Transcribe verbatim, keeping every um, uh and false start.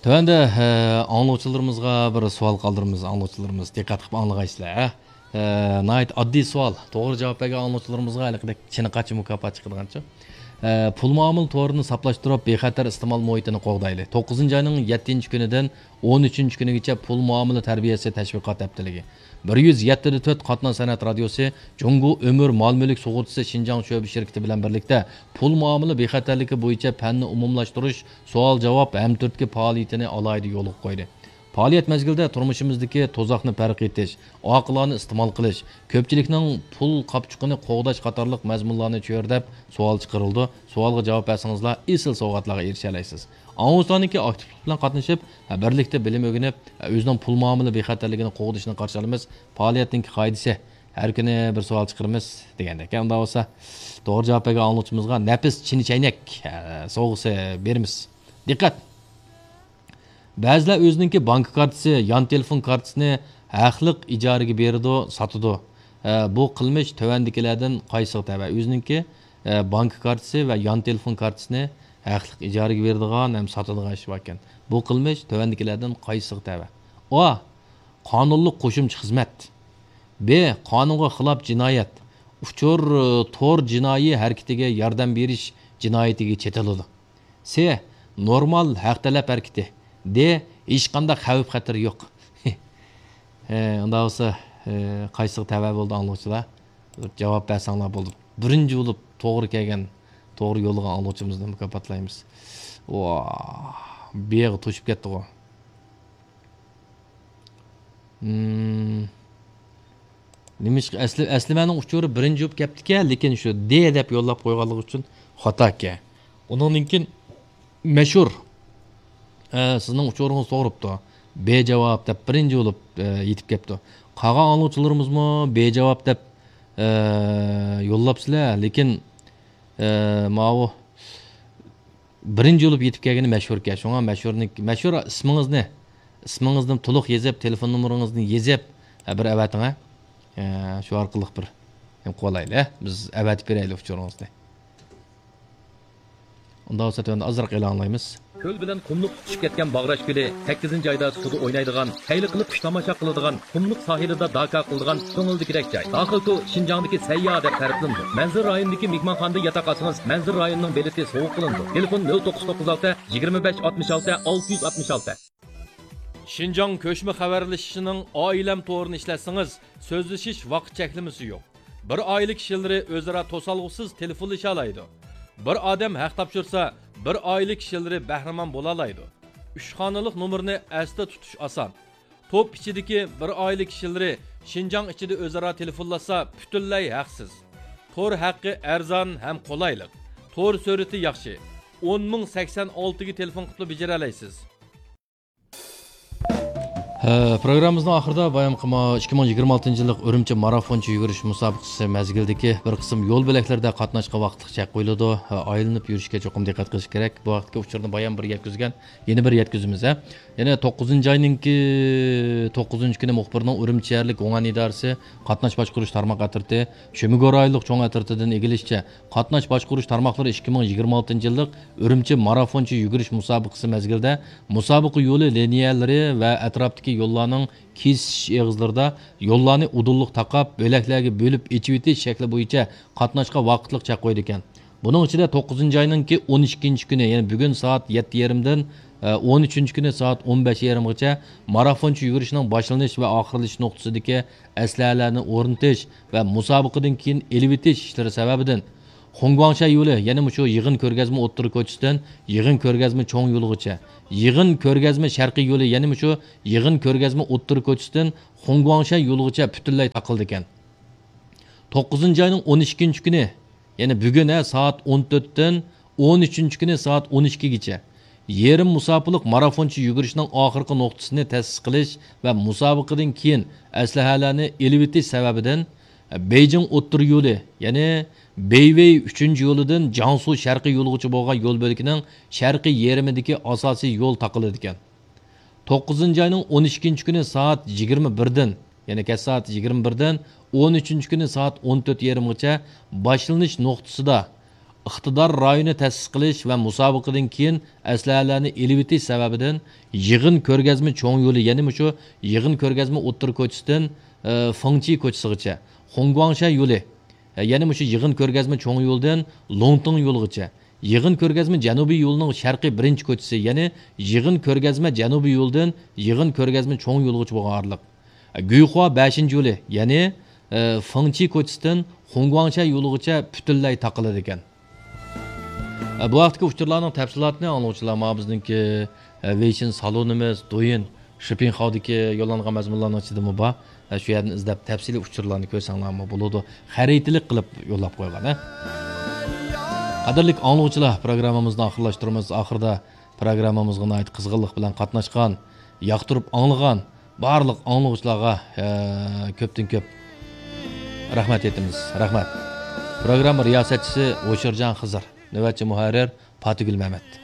تۆۋەندە، ئە، ئاڭلىغۇچىلىرىمىزغا بىر سوئال قالدۇرىمىز. ئاڭلىغۇچىلىرىمىز، دىققەت قىلىپ ئاڭلىغايسىلەر، ئە. ئە، ناھايىتى ئاددىي سوئال. توغرا جاۋاب بەرگەن ئاڭلىغۇچىلىرىمىزغا ھېلىقىدەك چىنە قاچا مۇكاپات چىقىدىغانچۇ؟ ئە، پۇل مۇئامىلە تورىنى ساپلاشتۇرۇپ، بىخەتەر ئىستېمال مۇھىتىنى قوغدايلى. توققۇزىنچى ئاينىڭ يەتتىنچى كۈنىدىن ئون ئۈچىنچى كۈنىگىچە پۇل مۇئامىلە تەربىيەسى تەشۋىقات ھەپتىلىكى. بىر يۈز يەتتە دە تۆت قاتناش سەنئەت رادىيوسى، جۇڭگو ئۆمۈر مال مۈلۈك سۇغۇرتىسى شىنجاڭ شۆبە شىركىتى بىلەن بىرلىكتە پۇل مۇئامىلە بىخەتەرلىكى بويىچە پەننى ئومۇملاشتۇرۇش، سوئال جاۋاب ھەمتۈرتكە پائالىيىتىنى ئالاھىدە يولغا قويدى. پائالىيەت مەزگىلىدە تۇرمۇشىمىزدىكى تۇزاقنى پەرق ئېتىش، ئاقىلانە ئىستېمال قىلىش، كۆپچىلىكنىڭ پۇل قاپچۇقىنى قوغداش قاتارلىق مەزمۇنلارنى چۆرىدەپ سوئال چىقىرىلىدۇ. سوئالغا جاۋاب بەرسىڭىزلا ئېسىل سوۋغاتلارغا ئېرىشەلەيسىز. ئاڭلىغۇچىلارنىڭكى ئاكتىپلىق بىلەن قاتنىشىپ، بىرلىكتە بىلىم ئۆگىنىپ، ئۆزىنىڭ پۇل مۇئامىلە بىخەتەرلىكىنى قوغدىشىنى قارشى ئالىمىز. پائالىيەتنىڭكى قائىدىسى، ھەر كۈنى بىر سوئال چىقىرىمىز دېگەندەك. ئۇنداق بولسا، توغرا جاۋاب بەرگەن ئاڭلىغۇچىمىزغا نەپىس چىنە چەينەك، ئە، سوۋغىسى بېرىمىز. دىققەت! بەزىلەر ئۆزىنىڭكى بانكا كارتىسى، يان تېلېفون كارتىسىنى ھەقلىق ئىجارىگە بېرىدۇ، ساتىدۇ. ئە، بۇ قىلمىش تۆۋەندىكىلەردىن قايسىغا تەۋە؟ ئۆزىنىڭكى، ئە، بانكا كارتىسى ۋە يان تېلېفون كارتىسىنى ھەقلىق ئىجارىگە بېرىدىغان ھەم ساتىدىغان ئىش باركەن. بۇ قىلمىش تۆۋەندىكىلەردىن قايسىغا تەۋە؟ ئا، قانۇنلۇق قوشۇمچە خىزمەت. ب، قانۇنغا خىلاپ جىنايەت. ئۇچۇر، ئە، تور جىنايى ھەرىكىتىگە ياردەم بېرىش جىنايىتىگە چېتىلىدۇ. س، نورمال ھەق تەلەپ ھەرىكىتى. د، ھېچقانداق خەۋپ خەتىرى يوق. ھە، ئۇنداق بولسا، ھە، قايسىغا تەۋە بولدى ئاڭلىغۇچىلار؟ جاۋاب بەرسەڭلار بولدى. بىرىنچى بولۇپ توغرا كەلگەن، توغرا يوللىغان ئاڭلىغۇچىمىزنى مۇكاپاتلايمىز. ۋا، بىيىغا توشۇپ كەتتىغۇ. مم. نېمىشقا ئەسلى، ئەسلىمەنىڭ ئۇچۇرى بىرىنچى بولۇپ كەپتىكەن، لېكىن شۇ دې دەپ يوللاپ قويغانلىقى ئۈچۈن خاتا ئىكەن. ئۇنىڭدىن كېيىن مەشھۇر، ئە، سىزنىڭ ئۇچۇرىڭىز توغرا بوپتۇ. بې جاۋاب دەپ بىرىنچى بولۇپ، ئە، يېتىپ كەپتۇ. قالغان ئاڭلىغۇچىلىرىمىزمۇ بې جاۋاب دەپ، ئە، يوللاپسىلەر، لېكىن، ئە، ماۋۇ بىرىنچى بولۇپ يېتىپ كەلگىنى مەشھۇركەن. شۇڭا مەشھۇرنىڭ، مەشھۇر ئىسمىڭىزنى، ئىسمىڭىزنى تولۇق يېزىپ، تېلېفون نومۇرىڭىزنى يېزىپ، ھە، بىر ئەۋەتىڭ، ھە. ھە، شۇ ئارقىلىق بىر نېمە قىلايلى، ھە؟ بىز ئەۋەتىپ بېرەيلى ئۇچۇرىڭىزنى. ئۇنداق بولسا تۆۋەندە ئازراق ئېلان ئالايمىز. كۆل بىلەن قۇملۇق تۇتىشىپ كەتكەن باغراش كۆلى سەككىزىنچى ئايدا سۇدا ئوينايدىغان، خەير قىلىپ كۈن تاماشا قىلىدىغان، قۇملۇق ساھىلىدا داكا قىلىدىغان كۆڭۈلدىكىدەك جاي. داخىل تو شىنجاڭدىكى سەيياھ دەپ تەرىپلىنىدۇ. مەنزىرە رايونىدىكى مېھمانخانىدا ياتاق ئالسىڭىز، مەنزىرە رايونىنىڭ بېلىتى سوۋغا قىلىنىدۇ. تېلېفون: نۆل توققۇز توققۇز ئالتە، يىگىرمە بەش ئاتمىش ئالتە، ئالتە يۈز ئاتمىش ئالتە. شىنجاڭ كۆچمە خەۋەرلىشىشىنىڭ ئائىلەم تورىنى ئىشلەتسىڭىز، سۆزلىشىش ۋاقىت چەكلىمىسى يوق. بىر ئائىلە كىشىلىرى ئۆزئارا توسالغۇسىز تېلېفونلىشالايدۇ. بىر ئادەم ھەق تاپشۇرسا، بىر ئائىلە كىشىلىرى بەھرىمەن بولالايدۇ. ئۈچ خانىلىق نومۇرنى ئەستە تۇتۇش ئاسان. توپ ئىچىدىكى بىر ئائىلە كىشىلىرى شىنجاڭ ئىچىدە ئۆزئارا تېلېفونلاشسا، پۈتۈنلەي ھەقسىز. تور ھەققى ئەرزان ھەم قولايلىق. تور سۈرئىتى ياخشى. ئون مىڭ سەكسەن ئالتىگە تېلېفون قىلىپلا بېجىرەلەيسىز. ھە، پروگراممىمىزنىڭ ئاخىرىدا بايام قىلما ئىككى مىڭ يىگىرمە ئالتىنچى يىللىق ئۈرۈمچى مارافونچە يۈگۈرۈش مۇسابىقىسى مەزگىلىدىكى بىر قىسىم يول بۆلەكلىرىدە قاتناشقا ۋاقىتلىق چەك قويۇلىدۇ. ھە، ئايلىنىپ يۈرۈشكە چوقۇم دىققەت قىلىش كېرەك. بۇ ھەقتىكى ئۇچۇرنى بايام بىر يەتكۈزگەن، يەنە بىر يەتكۈزىمىز، ھە. يەنە توققۇزىنچى ئاينىڭكى توققۇزىنچى كۈنى مۇخبىرنىڭ ئۈرۈمچى شەھەرلىك گۇڭئەن ئىدارىسى قاتناش باشقۇرۇش تارماق ئەترىتى شۆمىگۆ رايونلۇق چوڭ ئەترىتىدىن ئىگىلىشىچە، قاتناش باشقۇرۇش تارماقلىرى ئىككى مىڭ يىگىرمە ئالتىنچى يىللىق ئۈرۈمچى مارافونچە يۈگۈرۈش مۇسابىقىسى مەزگىلىدە مۇسابىقە يولى لىنىيەلىرى ۋە ئەتراپتىكى يوللارنىڭ كېسىش ئېغىزلىرىدا يوللارنى ئۇدۇللۇق تاقاپ، بۆلەكلەرگە بۆلۈپ ئېچىۋېتىش شەكلى بويىچە قاتناشقا ۋاقىتلىق چەك قويىدىكەن. بۇنىڭ ئىچىدە توققۇزىنچى ئاينىڭكى ئون ئىككىنچى كۈنى، يەنى بۈگۈن سائەت يەتتە يېرىمدىن، ئە، ئون ئۈچىنچى كۈنى سائەت ئون بەش يېرىمغىچە مارافونچە يۈگۈرۈشنىڭ باشلىنىش ۋە ئاخىرلىشىش نۇقتىسىدىكى ئەسلىھەلەرنى ئورنىتىش ۋە مۇسابىقىدىن كېيىن ئېلىۋېتىش ئىشلىرى سەۋەبىدىن، خۇڭگۇاڭشەن يولى، يەنى مۇشۇ يىغىن كۆرگەزمە ئوتتۇرا كوچىسىدىن يىغىن كۆرگەزمە چوڭ يولىغىچە، يىغىن كۆرگەزمە شەرقىي يولى، يەنى مۇشۇ يىغىن كۆرگەزمە ئوتتۇرا كوچىسىدىن خۇڭگۇاڭشەن يولىغىچە پۈتۈنلەي تاقىلىدىكەن. توققۇزىنچى ئاينىڭ ئون ئىككىنچى كۈنى، يەنى بۈگۈن، ھە، سائەت ئون تۆتتىن ئون ئۈچىنچى كۈنى سائەت ئون ئىككىگىچە يېرىم مۇساپىلىق مارافونچە يۈگۈرۈشنىڭ ئاخىرقى نۇقتىسىنى تەسىس قىلىش ۋە مۇسابىقىدىن كېيىن ئەسلىھەلەرنى ئېلىۋېتىش سەۋەبىدىن، بېيجىڭ ئوتتۇرا يولى، يەنى بېيۋېي ئۈچىنچى يولىدىن جياڭسۇ شەرقىي يولىغىچە بولغان يول بۆلىكىنىڭ شەرقىي يېرىمىدىكى ئاساسىي يول تاقىلىدىكەن. توققۇزىنچى ئاينىڭ ئون ئىككىنچى كۈنى سائەت يىگىرمە بىردىن، يەنى كەچ سائەت يىگىرمە بىردىن ئون ئۈچىنچى كۈنى سائەت ئون تۆت يېرىمغىچە باشلىنىش نۇقتىسىدا ئىقتىدار رايونى تەسىس قىلىش ۋە مۇسابىقىدىن كېيىن ئەسلىھەلەرنى ئېلىۋېتىش سەۋەبىدىن يىغىن كۆرگەزمە چوڭ يولى، يەنى مۇشۇ يىغىن كۆرگەزمە ئوتتۇرا كوچىسىدىن، ئى، فېڭچى كوچىسىغىچە، خۇڭگۇاڭشە يولى، ئە، يەنى مۇشۇ يىغىن كۆرگەزمە چوڭ يولىدىن لوڭتىڭ يولىغىچە، يىغىن كۆرگەزمە جەنۇبىي يولىنىڭ شەرقىي بىرىنچى كوچىسى، يەنى يىغىن كۆرگەزمە جەنۇبىي يولىدىن يىغىن كۆرگەزمە چوڭ يولىغىچە بولغان ئارىلىق. گۇيخۇا بەشىنچى يولى، يەنى، ئى، فېڭچى كوچىسىدىن خۇڭگۇاڭشە يولىغىچە پۈتۈنلەي تاقىلىدىكەن. ئى، بۇ ھەقتىكى ئۇچۇرلارنىڭ تەپسىلاتىنى ئاڭلىغۇچىلار ماڭا بىزنىڭكى، ئى، ۋېيشىن سالونىمىز، دويىن شىپىڭخاۋدىكى يوللانغان مەزمۇنلارنىڭ ئىچىدىمۇ بار. ئى، شۇ يەردىن ئىزدەپ تەپسىلىي ئۇچۇرلارنى كۆرسەڭلارمۇ بولىدۇ. خەرىتىلىك قىلىپ يوللاپ قويغان، ھە. قەدىرلىك ئاڭلىغۇچىلار، پروگراممىمىزنى ئاخىرلاشتۇرىمىز. ئاخىرىدا پروگراممىمىزغا ناھايىتى قىزغىنلىق بىلەن قاتناشقان، ياقتۇرۇپ ئاڭلىغان بارلىق ئاڭلىغۇچىلارغا، ئە، كۆپتىن كۆپ رەھمەت ئېيتىمىز. رەھمەت. پروگرامما رىياسەتچىسى ھوشۇرجان خىزىر، نۆۋەتچى مۇھەررىر پاتىگۈل مەمەت.